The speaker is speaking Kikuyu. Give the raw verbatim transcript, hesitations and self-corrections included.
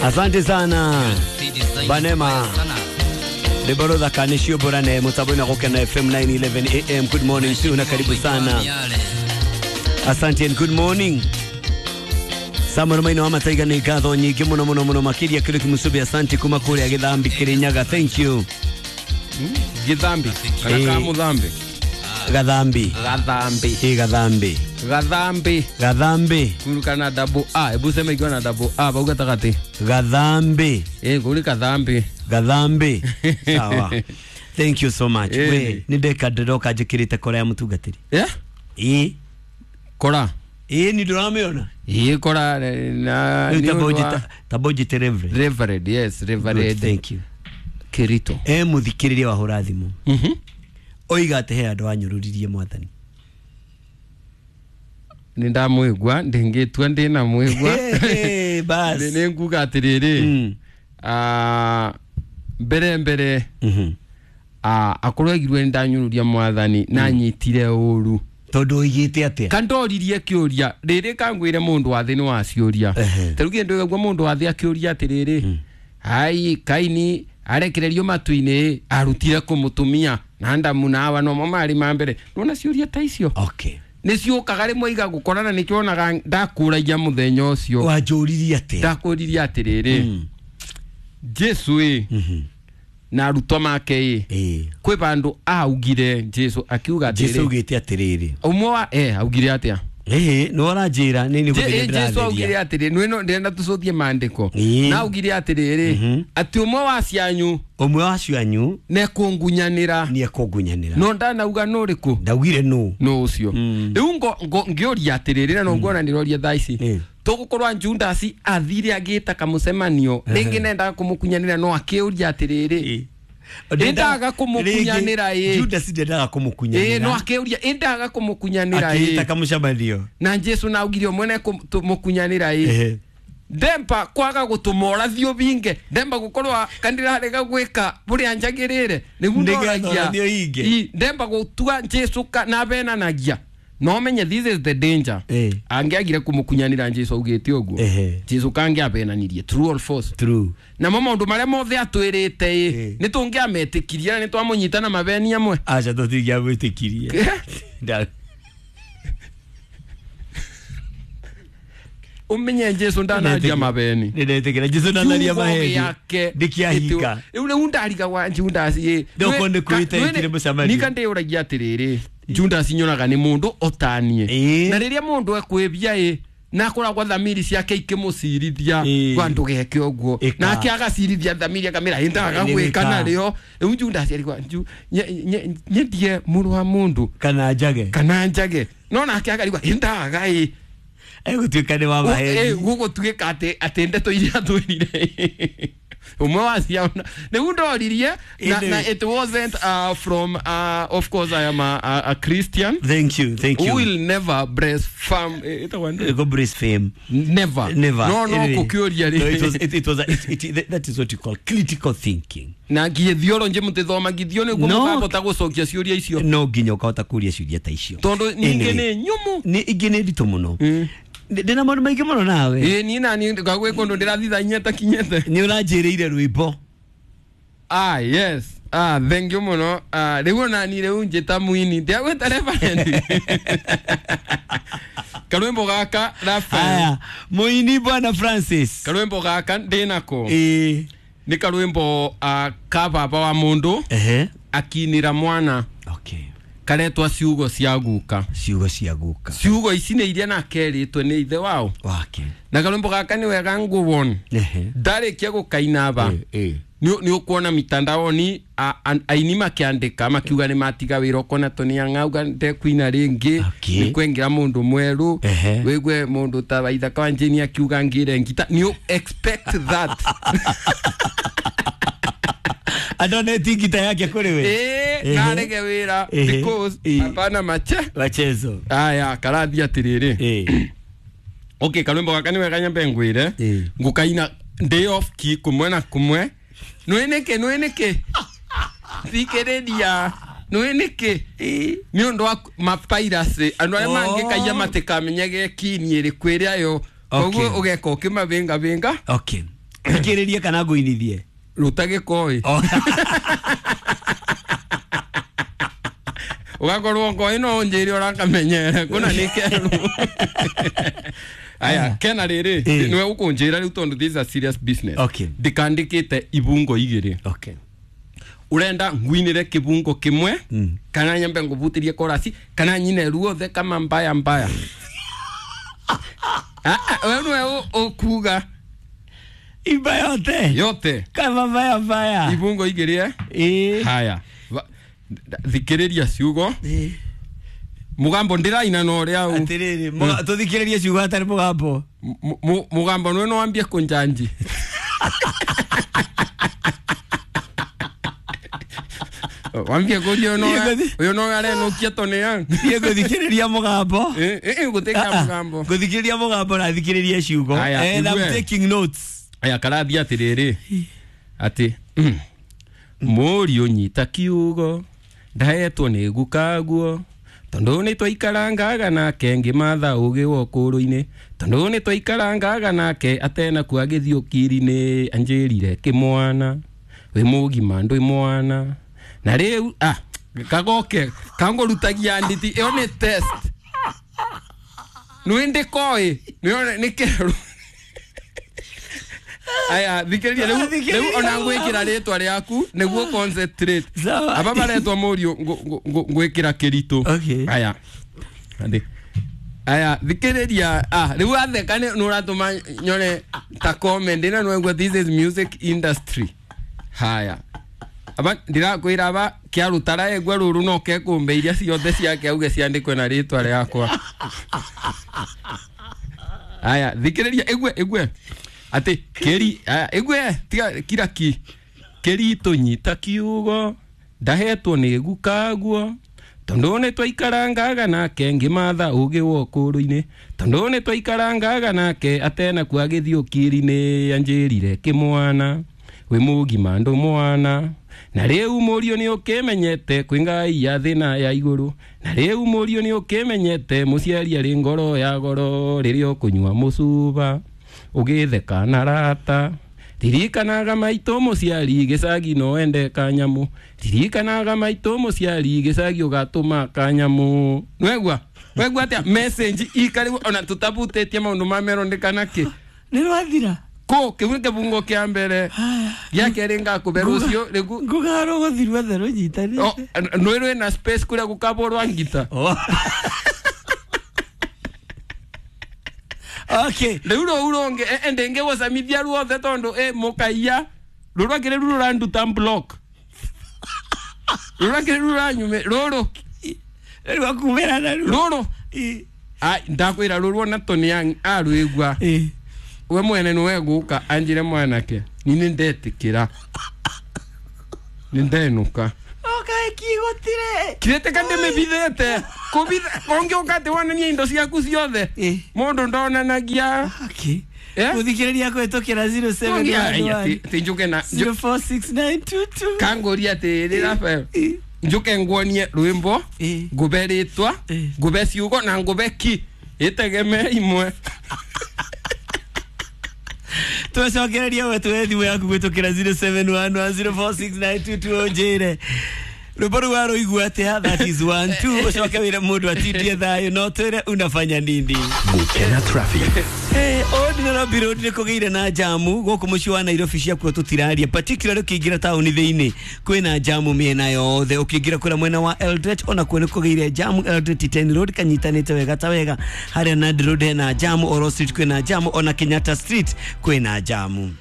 Asante sana Banema Deborah Kanishio Borane mutabona Gukena F M nine eleven A M. Good morning to na karibu sana. Asante and good morning. Samuel Maino ama taiga ni gatho nyingi muno muno muno makiria kiri kimusubi. Asante kuma kuri githambi Kirinyaga. Thank you. Githambi kana ka muthambi Gathambi Gathambi eh Gathambi Gathambi Gathambi kurukana double A ebu sema ikiwa na double A bauga takati Gathambi eh kuri Gathambi Gathambi sawa. Thank you so much. We ni ndeka ndiroka njikirite kora ya mutungatiri eh eh kora eh ni nduramiona eh kora na ni tabojite reverend reverend yes reverend. Thank you Kirito eh muthikiriria wahura thimu mhm oiga ate he andu anyururirie mwathani ni ndamwigua ndingitua ndina mwigua bas ni nguga atiriri ah mbere mbere mhm ah akorwo egirwe ndanyururia mwathani na nyitire uru tondu oigite atia kandoririe kiuria riri kangwire mundu wa thi ni waciuria taru kindu gwa mundu wa thi akiuria atiriri ai Kaini arekererio matu-ini arutire kumutumia na Adamu na Hawa no mari ma mbere nona ciuria ta icio okay ni ciukaga rimwe iga gukorana nikionaga ndakuragia muthenya ucio wanjuririe atia ndakuririe atiriri Jesu ĩ na arutwo make ĩ kwi bandu augire Jesu akiuga atiriri Jesu augite atiriri umwe wa eh augire atia eh no aranjira ni ni guthiĩ Jesu augire atiriri no ndenda tucothie maandiko na augire atiriri ati umwe wa cianyu umwe wa cianyu ne kungunyanira ni ekungunyanira no ndanauga no riku ndaugire no no ucio riu ngo ngioria atiriri na no ngona ndiroria thaa ici tugukorwa Judas athire agita kamucemanio ringi nendaga kumukunyanira no akiuria atiriri endaga kumukunyanira ĩ Judas ndendaga kumukunyanira ĩ no akiuria endaga kumukunyanira ĩ akita kamucemanio na Jesu na augire mwene kumukunyanira ĩ ndemba kwaga gutumora thio binge ndemba gukorwa kandira rega gwika buria njagirire niguo ndoragia ndemba gutua Jesu na benanagia no menye this is the danger eh. Angiagire kumukunyanira Jesu augite uguo eh. Jesu kangi abenanirie true or false true na mo maundu maria mothe atwirite eh. ni tungiametikirie na ni twamunyita na mabeni amwe acha tutingiamwitikirie umenye Jesu ndanaria mabeni nindetikira Jesu ndanaria maheni ndikiahika riu riu ndariga wa Judas ĩ ndoko kwita ikire mucemanio nika ndiuragia atiriri Judas nyonaga ni mundu otanie na riria mundu ekwibia ĩ na akoragwo thamiri ciake ikimucirithia kwa ndugeke uguo na ake agacirithia thamiri akamira indaga gwika nario riu Judas arigwa nyendie muru wa mundu kana njage kana njage no nake akarigwa indaga ĩ egutuika ni wa maheni eh gugutuika ati ati ndeto iria twirire umwe wa ciana riu ndoririe na, na it wasn't uh, from uh, of course I am a, a, a Christian. Thank you, thank you. Who will never breastfeed eh, go breastfeed never never no no kukuria no, it was it, it was a, it, it, that is what you call critical thinking na githioro nje mutithoma githio niguo mukahota gucokia ciuria icio no nginya ukahota kuria ciuria ta icio tondu ningi ni nyumu ni ingi ni nditu muno ndina maundu maingi muno nawe ĩ ni nani ngagwe kundu ndirathithanyia ta kinyete ni uranjiriire rwimbo ah yes ah thank you muno ah riu nani riu njita muini ndiagwita reverend karwimbo gaka Rafael aya muini bwana Francis karwimbo gaka ndinako ĩ ni karwimbo ah ka baba wa mundu ehe akinira mwana okay karetwa ciugo cia guka ciugo cia guka ciugo ici nĩ iria nakeritwe nĩ ithe wao wake na karwimbo gaka nĩ wega nguwon ndarĩkia gũkaina ba nĩ ũkuona mitandaoni aini makiandĩka makiuga nĩ matiga wĩra ũkona Tony ang'auga ndekuina rĩngĩ nĩ kwengera mũndũ mwerũ wĩgue mũndũ ta Waithaka wa Njini akiuga ngire ngita nĩ expect that adoneti ngita yake kuri we eh narege wira because hapana mache machezo aya karathi atiriri eh okay karwimbo gaka ni wega nyambe ngwire ngukaina day off ki kumwe na kumwe nwinike nwinike thikiriria nwinike ni undu wa mapiracy andu aria mangikaia matikamenyage kini iriku iria yo Koguo ũgeka ũkĩmabĩngabĩnga. Okay, thikĩrĩrie kana ngũinithie? Ruta gĩkoi. Ũgakorwo ngoi no ũnjĩre ũrakamenyere kũna nĩ kerũ. Aya, kena rĩrĩ nĩwe ũkũnjĩra rĩu tondũ this is a serious business. Okay. Ndikandĩkĩte ibungo igĩrĩ. Okay. Urenda ngwinire kibungo kimwe mm. kana nyambe nguvutirie korasi kana nyine ruothe kama mbaya mbaya. Ah, wewe niwe ukuga imba yote yote kama mbaya mbaya ibungo igĩrĩ. Eh, haya thikĩrĩria ciugo. Eh, mugambo ndiraina no ria u atiriri tuthikĩrĩrie ciugo atari mugambo. Mugambo nwe no wambie kunjanji. Wambie kurio no uyo no arenukia tonia. Niĩ ngũthikĩrĩria mũgambo. Eh eh ngũthikĩrĩria mũgambo. Ngũthikĩrĩria mũgambo na thikĩrĩrie ciugo. And I'm taking notes. Aya karathi atiriri ati mũriũ nyita kiugo ndahetwo nĩ gukaguo tondu nĩ twaikarangaga nake ngĩmatha ũgĩ wa ũkũrũ-inĩ tondu nĩ twaikarangaga nake atena kua agĩthiĩ ũkiri-inĩ anjĩrire kĩmwana wĩ mũgima ndwĩ mwana na rĩu ah kagoke kangũrutagia nditi ĩyo nĩ test nĩ ndĩkoĩ nĩ kerũ. Aya thikĩrĩria rĩu rĩu ona ngwĩkĩra rĩtwa rĩaku nĩguo concentrate. Aba baretwa mũriũ ngwĩkĩra kĩritũ. Aya aya thikĩrĩria ah rĩu atheka nĩ ũratũma nyone ta comment ĩno nĩwaigua this is music industry. Haya aba ndirakwĩra aba kĩarutara egwa rũrũ no kekũmbe iria ciothe ciake auge ciandĩkwe na rĩtwa rĩakwa. Aya thikĩrĩria ĩgwe ĩgwe ati keri ĩgwe tiga kira ki kĩritũ nyita kiugo ndahetwo nĩ gukaguo tondu nĩ twaikarangaga nake ngĩmatha ũgĩ wa ũkũrũ-inĩ tondu nĩ twaikarangaga nake atena kua agĩthiĩ ũkiri-inĩ anjĩrire kĩmwana wĩ mũgima ndũ mwana na rĩu mũriũ nĩ ũkĩmenyete kwĩ Ngai ya thĩ na ya igũrũ na rĩu mũriũ nĩ ũkĩmenyete mũciari arĩ ngoro ya goro rĩrĩa ũkũnyua mũcuba ũgĩtheka na rata ririkanaga maitũ mũciari gĩcagi no ende kanyamũ ririkanaga maitũ mũciari gĩcagi ũgatũma kanyamũ. Nwegua wegua atĩa message ikarĩu ona tũtabutĩtie maũndũ ma merondekana kĩ nĩ rwathira ko kĩu nĩ kĩbungo kĩa mbere gĩa kerĩ ngakũbe rũciũ rĩgu ngũgarwo gũthiĩ ruothe rũnyitanĩte nĩ rwĩna space kũrĩa gũkabwo rwa ngita. Okay. Rĩu rũu rũngĩ ende ngĩgũcamithia ruothe tondũ ĩ mũkaiya rũrũ akĩrĩ rũu rũranduta block rũrũ akĩrĩ rũu rũranyume rũrũ rĩu akumĩra na rũrũ ai ndakwĩra rũrũ ona Tony arwĩgua we mwene nĩwe gũka anjĩre mwanake ni nĩ ndetĩkĩra nĩ ndenũka. Okay, kigotire kirete ndĩmĩbithĩte kũbitha ũngĩũka atĩ wonanie indo ciaku ciothe mũndũ ndonanagia. Okay. Gũthikĩrĩria kũhetũkĩra zero seven one one ti njuke na zero four six nine two two kangũria atĩrĩrĩ Rafael njuke nguonie rwĩmbo ngũbe rĩtwa ngũbe ciugo na ngũbe ki ĩtegeme imwe. Twacokereria we tuwe thimũ yaku gwĩtũkĩra zero seven one one zero four six nine two two ũnjĩre rwĩmbo rũu warũigua atĩa. That is one two ũcoke wĩre mũndũ atindie thayũ no twĩre unafanya nini. Gũkena traffic. Eh, Old Nairobi Road nĩ kũgĩire na jamu gũkũ mũciĩ wa Nairobi ciakuo tũtiraria particularly ũkĩingĩra taũni thĩinĩ kwĩna jamu mĩena yothe ũkĩingĩra kũrĩa mwena wa Eldoret ona kuo nĩ kũgĩire jamu. Eldoret ten Road kanyitanĩte wega ta wega harĩa Nandi Road hena jamu, Oro Street kwĩna jamu, ona Kenyatta Street kwĩna jamu.